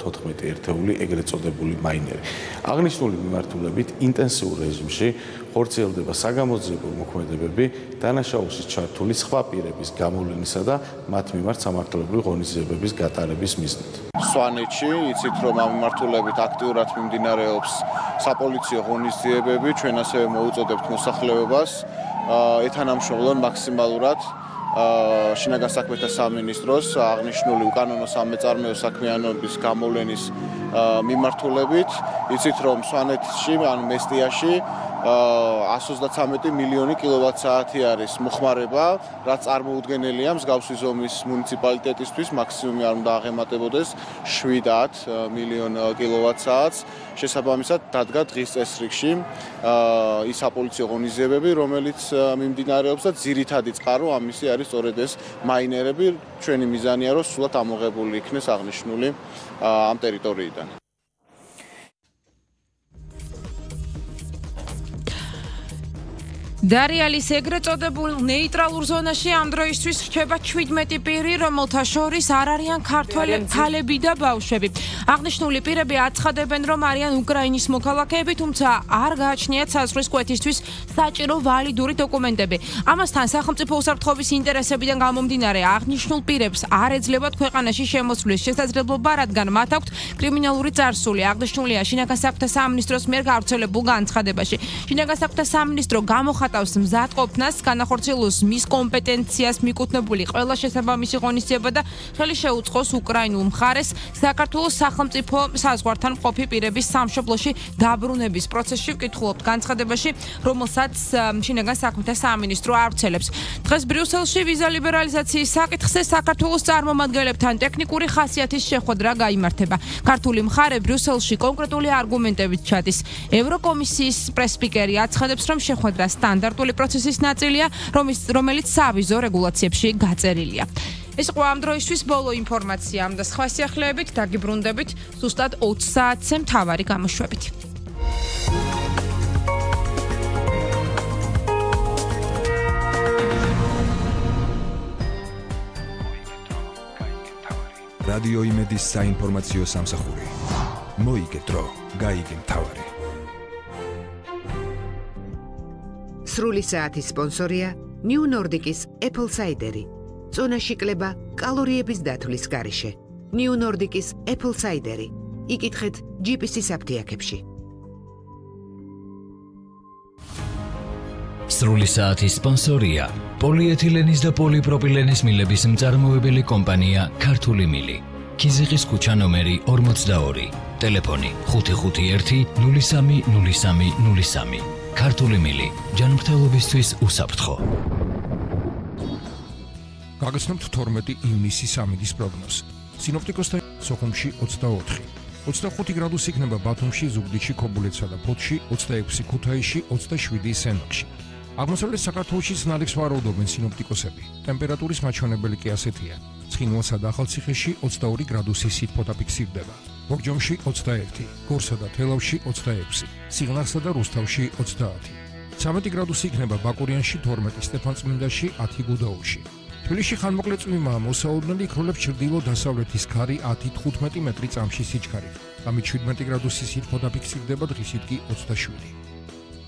14 ერთეული ეგრეთ წოდებული მაინერი. აღნიშნული მიმართულებით ინტენსიურ რეჟიმში ხორციელდება საგამოძიებო მოქმედებები დანაშაულში ჩართული სხვა პირების გამოვლენისა და მათ მიმართ სამართლებრივი ღონისძიებების გატარების მიზნით. სვანეთში იცით რომ ამ მიმართულებით აქტიურად მიმდინარეობს საპოლიციო ღონისძიებები, ჩვენ ასევე მოუწოდებთ მოსახლეობას ეთანამშრომლონ მაქსიმალურად შინაგან საქმეთა სამინისტროს აღნიშნული უკანონო სამეწარმეო საქმიანობის გამოვლენის მიმართულებით. იცით რომ სვანეთში ან მესტიაში 133 მილიონი კილოვატ-საათი არის მოხმარება, რაც წარმოუდგენელია მსგავსი ზომის მუნიციპალიტეტისთვის, მაქსიმუმი არ უნდა აღემატებოდეს 7 მილიონ კილოვატ-საათს. შესაბამისად დადგა დღის წესრიგში ის საპოლიციო ღონისძიებები, რომელიც მიმდინარეობს და ძირითადი წყარო ამისი არის სწორედ ეს მაინერები. ჩვენი მიზანია რომ სულად ამოღებული იქნეს აღნიშნული ამ ტერიტორიიდან. დარიალის ეგრეთ წოდებულ ნეიტრალურ ზონაში ამ დროისთვის რჩება 17 პირი, რომელთა შორის არ არიან ქართველი ქალები და ბავშვები. აღნიშნული პირები აცხადებენ, რომ არიან უკრაინის მოქალაქეები, თუმცა არ გააჩნიათ საზღვრის კვეთისთვის საჭირო ვალიდური დოკუმენტები. ამასთან სახელმწიფო უსაფრთხოების ინტერესებიდან გამომდინარე აღნიშნულ პირებს არ ეძლებათ ქვეყანაში შემოსვლის შესაძლებლობა, რადგან მათ აქვთ კრიმინალური წარსული. აღნიშნულია შინაგან საქმეთა სამინისტროს მიერ გავრცელებულ განცხადებაში. შინაგან საქმეთა სამინისტრო გამოხატავს მზადყოფნას, განახორციელოს მის კომპეტენციას მიკუთვნებული ყველა შესაბამისი ღონისძიება და ხელი შეუწყოს უკრაინულ მხარეს საქართველოს სახელმწიფო საზღვართან მყოფი პირების სამშობლოში დაბრუნების პროცესში. ვკითხულობთ განცხადებაში, რომელსაც შინაგან საქმეთა სამინისტრო ავრცელებს. დღეს ბრიუსელში ვიზა ლიბერალიზაციის საკითხზე საქართველოს წარმომადგენლებთან ტექნიკური ხასიათის შეხვედრა გაიმართება. ქართული მხარე ბრიუსელში კონკრეტული არგუმენტებით ჩადის. ევროკომისიის პრესპიკერი აცხადებს, რომ შეხვედრა სტანდარტული პროცესის ნაწილია, რომელიც სავიზო რეგულაციებში გაწერილია. ეს იყო ამ დროისთვის ბოლო ინფორმაცია ამ და სხვა სიახლეებით დაგიბრუნდებით ზუსტად 20 საათზე მთავარი გამოშვებით. რადიო იმედის საინფორმაციო სამსახური. მოიგეთ დრო, გაიგე მთავარი. სრული საათის სპონსორია New Nordic-ის Apple Cider-ი. წონაში კლება კალორიების დათვლის გარეშე. New Nordic-ის Apple Cider-ი. იკითხეთ GPS-ის აფთიაქებში. სრული საათის სპონსორია პოლიეთილენის და პოლიპროპილენის მილების მწარმოებელი კომპანია ქართული მილი. ქიზიყის ქუჩა ნომერი 42. ტელეფონი 551 03 03 03. ქართული მილი ჯანმრთელობისთვის უსაფრთხო. გაგაცნობთ 12 ივნისის ამინდის პროგნოზი. სინოპტიკოსთა სოხუმში 24, 25 გრადუსი იქნება ბათუმში, ზუგდიდში, ქობულეთსა და ფოთში, 26 ქუთაისში, 27 სენაკში. აღმოსავლეთ საქართველოში ზნადებს ვარაუდობენ სინოპტიკოსები. ტემპერატურის მაჩვენებელი კი ასეთია. ცხინვალსა და ახალციხეში 22 გრადუსი სითბოთა ფიქსირდება. ბორჯომში 21, გორსა და თელავში 26, სიღნაღსა და რუსთავში 30. 13 გრადუსი იქნება ბაკურიანში, 12 სტეფანწმინდაში, 10 გუდაუთში. თბილისში ხანმოკლე წვიმაა, მოსაოდნელი იქროლებს ჩრდილო-დასავლეთის ქარი 10-15 მეტრი წამში სიჩქარით. ამით 17 გრადუსი სითბოთა ფიქსირდება, დღისით კი 27.